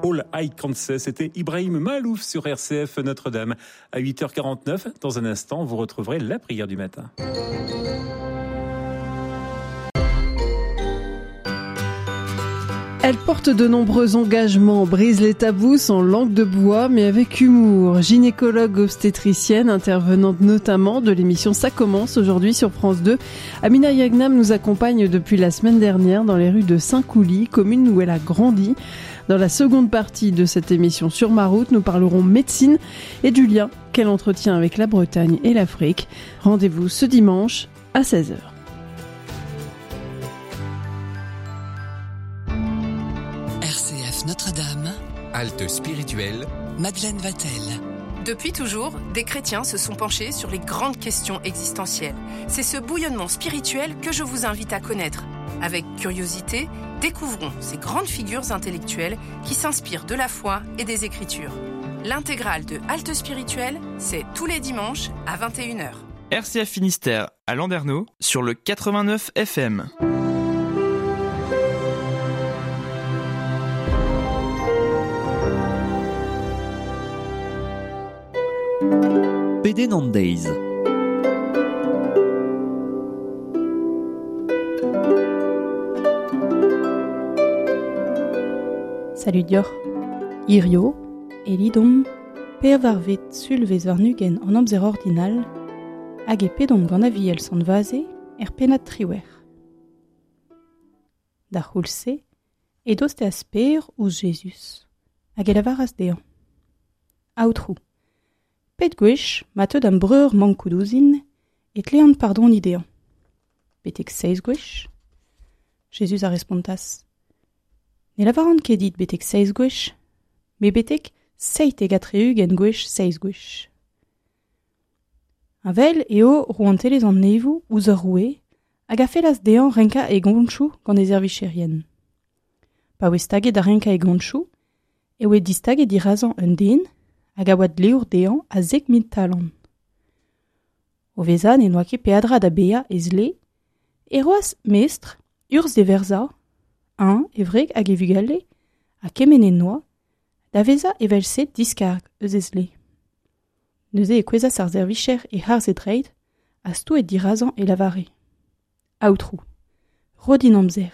All I Can Say. C'était Ibrahim Malouf sur RCF Notre-Dame. À 8h49, dans un instant, vous retrouverez la prière du matin. Elle porte de nombreux engagements, brise les tabous sans langue de bois, mais avec humour. Gynécologue obstétricienne, intervenante notamment de l'émission Ça commence aujourd'hui sur France 2. Amina Yagnam nous accompagne depuis la semaine dernière dans les rues de Saint-Couly, commune où elle a grandi. Dans la seconde partie de cette émission sur ma route, nous parlerons médecine et du lien qu'elle entretient avec la Bretagne et l'Afrique. Rendez-vous ce dimanche à 16h. RCF Notre-Dame, Halte spirituelle, Madeleine Vatel. Depuis toujours, des chrétiens se sont penchés sur les grandes questions existentielles. C'est ce bouillonnement spirituel que je vous invite à connaître. Avec curiosité, découvrons ces grandes figures intellectuelles qui s'inspirent de la foi et des Écritures. L'intégrale de Halte spirituelle, c'est tous les dimanches à 21h. RCF Finistère à Landerneau sur le 89 FM. Pedenn an deiz. Salud deoc'h. Hirio, e lidomp pevarvet sulvezh warn-ugent an amzer ordinal hag e pedomp gant Aviel Sant Vaze er pennad triwec'h. D'ar c'houlz-se e dosteas Per ouzh Jezuz hag e lavaras dezhañ: Aotrou, pet gwech ma teu da'm breur mankout ouzhin e tlean pardoniñ dezhañ? Betek seizh gwech? Jezuz a respontas: Ne lavaran ket dit betek seizh gwech, met betek 77 gwech seizh gwech. Heñvel eo rouantelezh an neñvoù ouzh ur roue hag a fellas dezhañ renkañ e gontoù gant e servijerien. Pa oe staget da renkañ e gontoù e oe distaget dirazañ un den hag a oa dleour dezhañ a 10 000 talant. O vezañ ne n'oa ket peadra da baeañ e zle, e roas mestr urzh d'e verzañ, eñ, e wreg hag e vugale, ha kement en doa, da vezañ evel-se diskarg eus e zle. Neuze e kouezhas ar servijer e-harz e dreid ha stouet dirazañ e lavare: Aotrou, ro din amzer,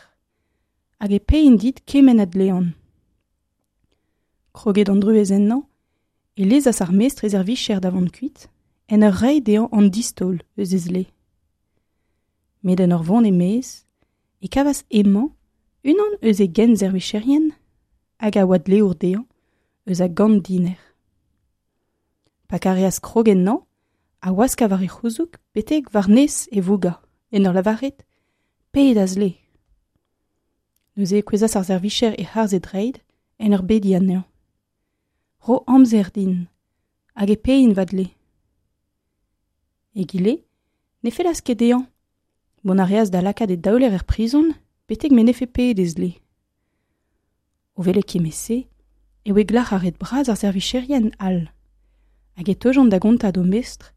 hag e paein dit kement a dlean. Kroget an druez ennañ, e lezas ar mestr e servijer da vont kuit, en ur reiñ dezhañ an distaol eus e zle. Met en ur vont e-maez, e kavas hemañ unan eus e genservicherien hag a oa dleour dezhañ eus a gant diner. Pa kareas krog ennañ, a waska war e c'houzoug betek war-nes e vougañ, en ur lavaret: Paeet da zle. Neuze e kouezhas ar servijer e-harz e dreid en ur bediñ anezhañ. Ro amzer din, hag e paein va dle. Egile ne fellas ket dezhañ. Mont a reas da lakaat e daoler er prizon betek m'en defe paeet e zle. O welet kement-se e oe glac'haret bras ar servicherien all, hag e teujont da gontañ d'o mestr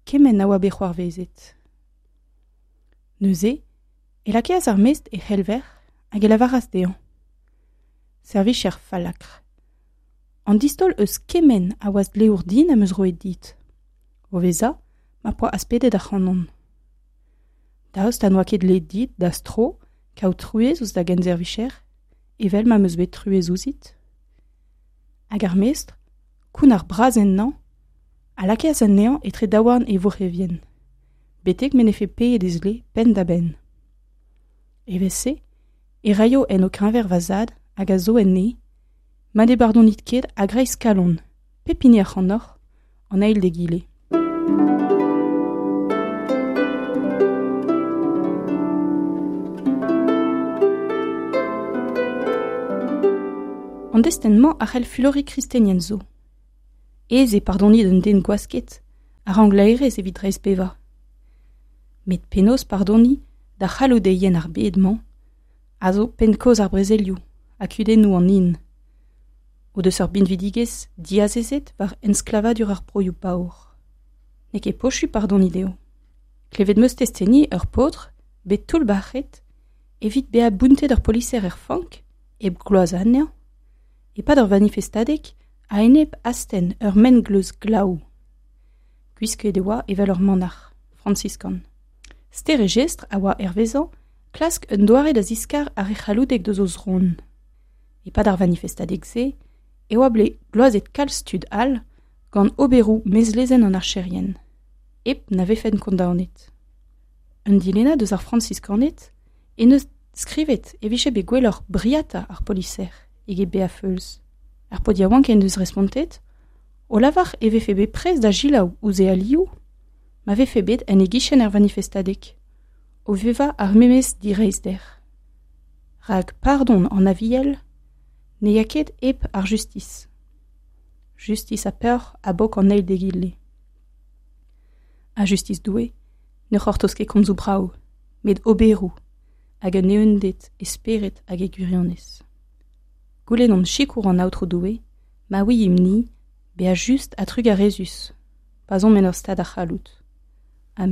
kement a oa bet c'hoarvezet. Neuze e lakaas ar mestr e c'helver hag e lavaras dezhañ: Servicher fallakr, an distaol eus kement a oas dleour din am eus roet dit, o vezañ ma poa aspedet ac'hanon. Daoust ha n'oa ket dleet dit da'z tro kaout truez ouzh da genservicher, evel ma 'm eus bet truez ouzhit? Hag ar mestr, kounnar bras ennañ, a lakaas anezhañ etre daouarn e vourrevien, betek m'en defe paeet e zle penn-da-benn. Evel-se e raio en ho keñver va zad hag a zo en neñv, ma ne bardonit ket a-greiz kalon pep hini ac'hanoc'h an eil d'egile. An destenn-mañ a c'hell fuloriñ kristenien zo. Aes eo pardoniñ d'un den gwasket a rank laerezh evit dreistbevañ. Met penaos pardoniñ da c'halloudeien ar bed-mañ a zo penn-kaoz ar brezelioù ha kudennoù an hin, o deus ur binvidigezh diazezet war ensklavadur ar broioù paour. N'eo ket posupl pardoniñ dezho. Klevet 'm eus testeni ur paotr bet toullbac'het evit bezañ bountet ur poliser er fank hep gloazañ anezhañ, E-pad ur vanifestadeg a-enep astenn ur mengleuz glaou. Gwisket e oa evel ur manac'h, fransiskan. Ster e jestr a oa hervezañ klask un doare da ziskar ar re c'halloudek deus o zron. E-pad ar vanifestadeg-se e oa bet gloazet kalz tud all gant oberoù mezlezenn an archerien, hep na vefent kondaonet. Un dilennad eus ar Frañsiskaned en deus skrivet e vije bet gwelloc'h briata ar poliser eget bezañ feuls. Ar paotr yaouank en deus respontet o lavar e vefe bet prest da selaou ouzh e alioù ma vefe bet en e gichen er vanifestadeg, o vevañ ar memes direizhder. Rak pardon an Aviel ne ya ket hep ar justis. Justis ha peoc'h a bok an eil d'egile. Ha justis Doue ne c'hortoz ket komzoù brav, met oberoù hag un eeunded e spered hag e gwirionez. Goulennomp sikour an Aotrou Doue, ma ouiimp-ni bezañ just ha trugarezus, pa'z omp en ur stad a c'halloud.